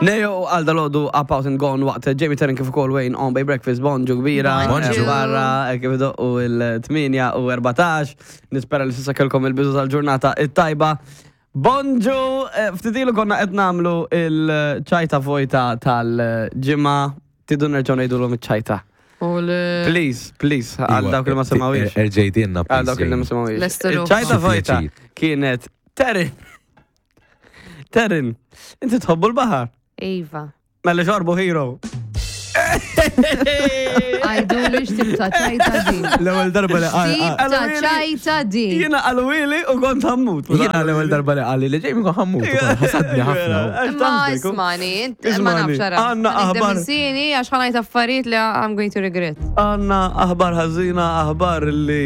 Nejo għal dalodu up out and gone waqt Jamie Terren kif ukoll Wayne on by breakfast bonġu kbira. Bonġu. Barra eh, kif doqqu il-8 u 14. Nispera li s'issa kellkom il-bidu tal-ġurnata it-tajba. Bonġu, eh, ftit ilu konna qed nagħmlu il-ċajta vojta tal-ġimgħa. Tidu nerġgħu ngħidulhom iċ-ċajta. Please, please, għal dawk li ma semawiex. Erġejdinna, Għal dawk li ma semawiex. Lester Iċ-ċajta vojta Pjaċir. kienet Terren. Terren, inti tħobbu l-baħar. Iva. Mela xorbu hero. Għajdu li xtib ta' ċajta din. L-ewwel darba li Xtib ta' ċajta din. Jiena qalwili u kont ħammut. Jiena l-ewwel darba li qalli li Jamie kon ħammut ukoll, ħasadni ħafna. Ma ismani, int- ma Ismani, nafx ara. għanna aħbar. Sini għax ħanajt affarijiet li I'm going to regret. Għanna aħbar ħażina, aħbar li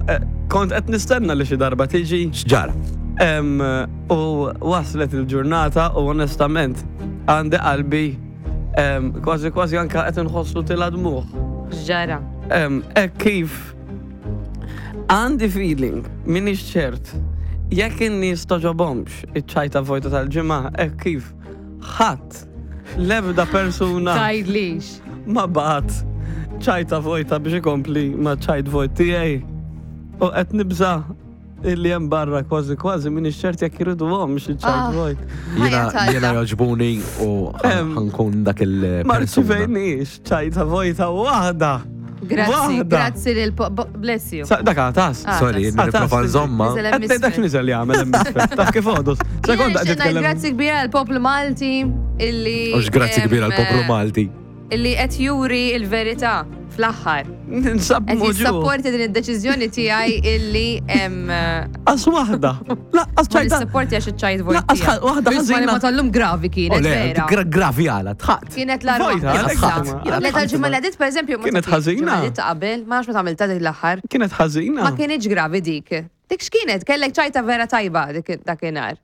eh, kont qed nistenna li xi darba tiġi. X'ġara? Em, U waslet il-ġurnata u onestament għandi qalbi em, kważi kważi anka qed inħossu tilha dmuħ. X'ġara. Em, Hekk kif għandi feeling minix ċert jekk in-nies toġobhomx iċ-ċajta vojta tal-ġimgħa hekk kif ħadd l-ebda persuna Tajdlix. ma bagħat ċajta vojta biex ikompli ma ċajt vojt tiegħi u qed nibża illi hemm barra kważi kważi minix ċert jekk iriduhomx iċ-ċajt Ah. vojt. Jiena Ħajja tajba. jiena joġbuni u Em, ħankun dak Ma il-persuna. rċivejniex ċajta vojta waħda. Grazzi, Waħda. grazzi lil po- bo- bless you. Sa- Dak għatas. Ah, Sorry, tas. nipprova nżomma. Niżel hemm Qed ngħid dak isfel. niżel jagħmel hemm isfel. Taf kif għodus. Sekonda qed Jiena nixtieq ngħid titkellem. Grazzi kbira għal poplu Malti illi. Ux grazzi em, kbira għal poplu Malti. Illi qed juri il-verità fl-aħħar. Ninsab Qed muġu. jissapporti din id-deċiżjoni tiegħi illi em, Qas waħda. Laqqas ma ċajta. nissapporti għax iċ-ċajt vojt. Laqqas tiegħek. waħda Isma' li ħażina. ma tal-lum gravi kienet Ole, vera. gra- gravi għala, tħat. Kienet l Vojta, għalhekk ħadd. Le tal-ġimgħa li għadiet pereżempju ma Kienet tafx, ħażina. ġimgħa li għadiet ta' qabel, ma nafx meta għamilta dik l-aħħar. Kienet ħażina. Ma kienx gravi dik. Dik x'kienet? Kellek ċajta vera tajba dik dakinhar.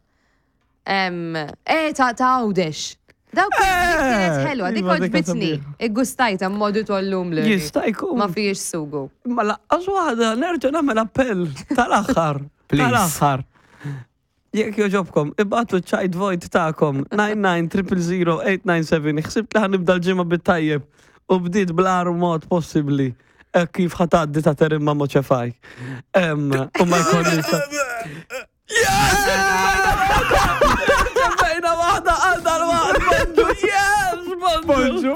Em, Eh, ta' ta' Għawdex. Dawk kienet Eh, ħelwa, dik iva, dik għoġbitni. sabiħa. Iggustajta modu tollum li. Jista' jkun. Ma fiex sugu. Ma laqqas waħda nerġa' nagħmel appell tal-aħħar. Please. Tal-aħħar. Jekk joġobkom, ibatu ċajt vojt tagħkom 99000897. Ħsibt li ħanibda l-ġimgħa bit-tajjeb u bdiet bl-agħar mod possibbli. Hekk kif ħatgħaddi ta' terim ma' moċefaj. Em, U ma jkollix. Yes! Ġemmejna waħda għal dal-waqt, bonġu, yes, bonġu.